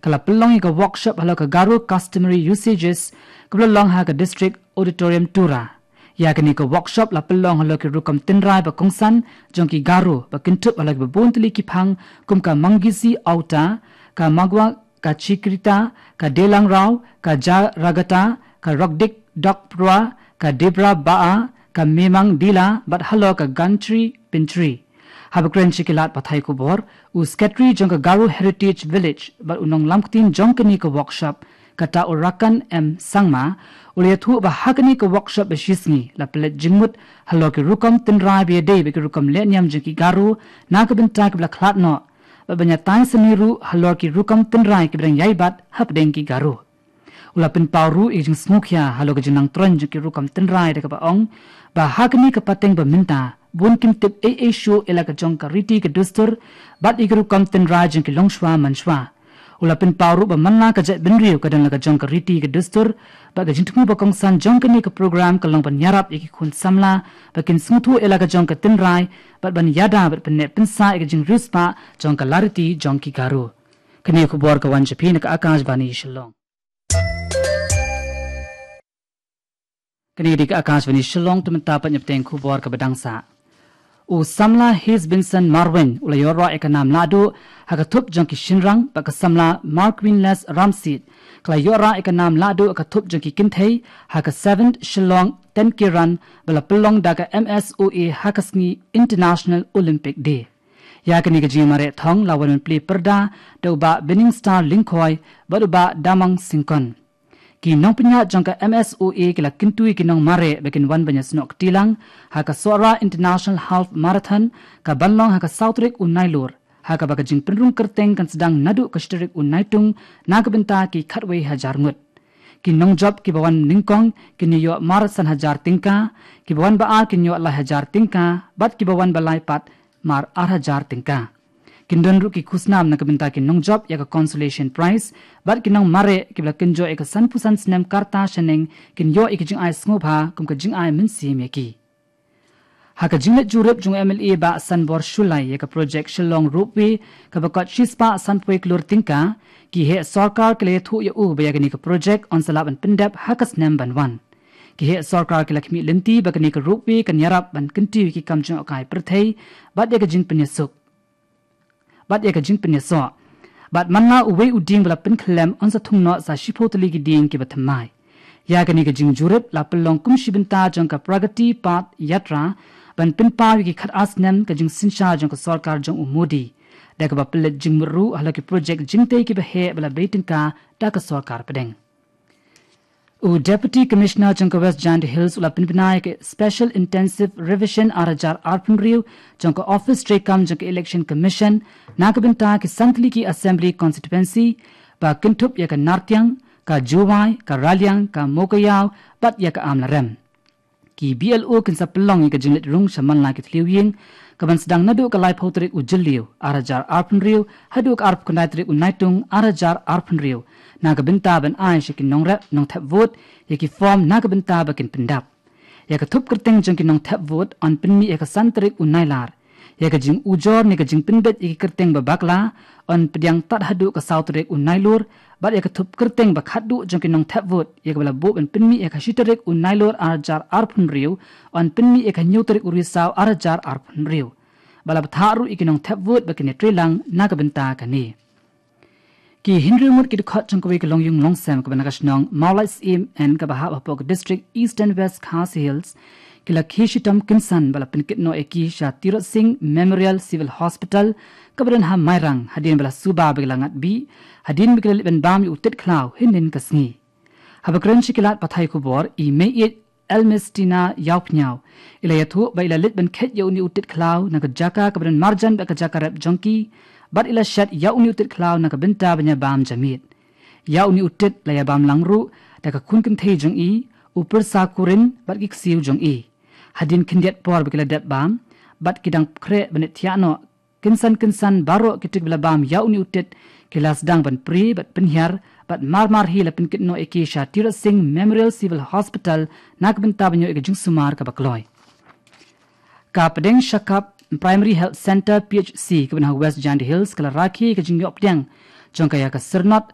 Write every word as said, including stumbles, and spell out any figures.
Ka la pynlong ïa ka workshop halor ka Garo Customary Usages, kaba la long ha ka District Auditorium Tura. Ïa kane ka workshop la pynlong halor ki rukom tynrai ba kongsan jong ki Garo, ba kynthup halor kiba bun tylli ki phang, kum ka Mangisi Auta, ka Magwa, ka Chikrita, ka Delangrao, ka Jaragata, ka Rokdik Dokprua, ka Debra Baa, ka Memang Dila, bad halor ka Gantri Pintri. Haba kren sha ki lad pathai khubor, u Secretary jong ka Garo Heritage Village bad u nonglam ktien jong kane ka workshop, kata u Rakan M Sangma, u la ïathuh ba ha kane ka workshop ba shisngi la pynleit jingmut halor ki rukom tynrai ba ïadei bad ki rukom leh niam jong ki Garo na ka bynta kiba la khlad noh, bad ban ïatai sani ruh halor ki rukom tynrai kiba dang ïai bat hapdeng ki Garo. U la pynpaw ruh ïa ka jingsngewkhia halor ka jingnang tyrkhong jong ki rukom tynrai da kaba ong ba ha kane ka pateng ba mynta bun kim tip ei ei shuh ïa la ka jong ka riti ka dustur bad ïa ki rukom tynrai jong ki longshuwa mansuwa. U la pynpaw ruh ba man la ka jaitbynriew ka don la ka jong ka riti ka dustur, bad ka jingthmu ba kongsan jong kane ka program ka long ban ïarap ïa ki khun samla ba kin sngewthuh ïa la ka jong ka tynrai bad ban ïada bad pynneh pynsah ïa ka jingriewspah jong ka lariti jong ki Garo. Kane ka khubor ka wan sha phi na ka Akashvani Shillong. Kane ka dei ka Akashvani Shillong, te mynta pat ngin ïa bteng khubor kaba dang sah. U samla Hesbinson Marwein u la ïoh rah ïa ka nam lahduh ha ka thup jong ki shynrang, bad ka samla Markwinless Ramsit ka la ïoh rah ïa ka nam lahduh ha ka thup jong ki kynthei ha ka seventh Shillong ten K Run ba la pynlong da ka M S O A ha ka sngi International Olympic Day. Ïa kane ka jingmareh thong la wan ban plie pyrda da u Bah Binningstar Lyngkhoi bad u Bah Damang Syngkon. Ki nongpynïaid jong ka M S O A ki la kyntu ïa ki nongmareh ba kin wan ban ïasnoh kti lang ha ka Sohra International Half Marathon, kaban long ha ka saw tarik u Nailur, ha kaba ka jingpynrung kyrteng kan sdang naduh ka shi tarik u Naitung na ka bynta ki khatwei hajar ngut. Ki nongjop kiba wan nyngkong kin ïoh mar san hajar tyngka, kiba wan ba ar kin ïoh lai hajar tyngka, bad kiba wan ba lai pat mar ar hajar tyngka. Kin don ruh ki khusnam na ka bynta ki nongjop ïa ka consolation prize, bad ki nongmareh kiba la kynjoh ïa ka sanphew san snem ka rta shaneng kin ïoh ïa ka jingai sngewbha kum ka jingai mynsiem ïa ki. Ha ka jingleit jurip jong u M L A Bah Sanbor Shullai ïa ka projek Shillong Ropeway kaba kot shispah sanphew klur tyngka, ki heh sorkar ki la ïathuh ïa u ba ïa kane ka projek yn sa lah ban pyndep ha ka snem ban wan. Ki heh sorkar ki la khmih lynti ba kane ka ropeway kan ïarap ban kyntiew ïa ki kam jngohkai pyrthei bad ïa ka jingpynïasuk bad ïa ka jingpynïasoh. Bad man la uwei u dieng ba la pynkhyllem yn sa thung noh sa shiphew tylli ki dieng kiba thymmai. Ïa kane ka jingjurip la pynlong kum shi bynta jong ka Pragati Path Yatra ban pynpaw ïa ki khat ar snem ka jingsynshar jong ka sorkar jong u Modi, da kaba pynleit jingmut ruh halor ki projek jingtei kiba heh ba la bei tyngka da ka sorkar pdeng. U Deputy Commissioner jong ka West Jaintia Hills u la pynbna ïa ka Special Intensive Revision ar hajar arphew hynriew jong ka Office treikam jong ka Election Commission na ka bynta ki san tylli ki Assembly Constituency, ba kynthup ïa ka Nartiang, ka Jowai, ka Raliang, ka Mowkaiaw bad ïa ka Amlarem. Ki B L O kin sa pynlong ïa ka jingleit rung sha man la ki thliew ïing, kaban sdang naduh ka laiphew tarik u Jylliew ar hajar arphew hynriew haduh ka arphew khyndai tarik u Naitung ar hajar arphew hynriew, na ka bynta ban ai sha ki nongrep nongthep vote ïa ki form na ka bynta ba kin pyndap. Ïa ka thup kyrteng jong ki nongthep vote yn pynmih ïa ka san tarik u Nailar. Ïa ka jingujor ne ka jingpynbeit ïa ki kyrteng ba bakla yn pdiang tad haduh ka saw tarik u Nailur, bad ïa ka thup kyrteng ba khatduh jong ki nongthep vote ïa kaba la buh ban pynmih ïa ka shi tarik u Nailur ar hajar arphew hynriew yn pynmih ïa ka hynñiew tarik u Risaw ar hajar arphew hynriew. Ba la bthah ruh ïa ki nongthep vote ba kin ïatreilang na ka bynta kane. Ki hynriew ngut ki dkhot jong kawei ka longïing longsem kaba na ka shnong Mawlai Syiem kaba hap hapoh ka District Eastern West Khasi Hills, ki la khie shitom kynsan ba la pynkit noh ïa ki sha Tirot Sing Memorial Civil Hospital kaba don ha Mairang, hadien ba la suba ba ki la ngat bih hadien ba ki la leit ban bam ïa u tit khlaw hynnin ka sngi. Haba kren sha ki lad pathai khubor, i Meiieid Elmistina Ïawphniaw i la ïathuh ba i la leit ban kheit ïa une u tit khlaw na ka jaka kaba don marjan bad ka jaka rep jong ki, bad i la shet ïa une u tit khlaw na ka bynta ban ïa bam ja miet. Ïa une u tit la ïa bam lang ruh da ka khun kynthei jong i, u pyrsa kurim bad ki ksiew jong i. Hadien khyndiat por ba ki la dep bam bad ki dang khreh ban thiah noh, kynsan kynsan baroh kito kiba la bam ïa une u tit ki la sdang ban prie bad pynhiar, bad mar mar hi la pynkit noh ïa ki sha Tirot Sing Memorial Civil Hospital na ka bynta ban ïoh ïa ka jingsumar kaba kloi. Ka pdeng Shakap Primary Health Centre, P H C, kaba na West Jaintia Hills ka la rakhe ïa ka jingïoh pdiang jong ka ïa ka syrnod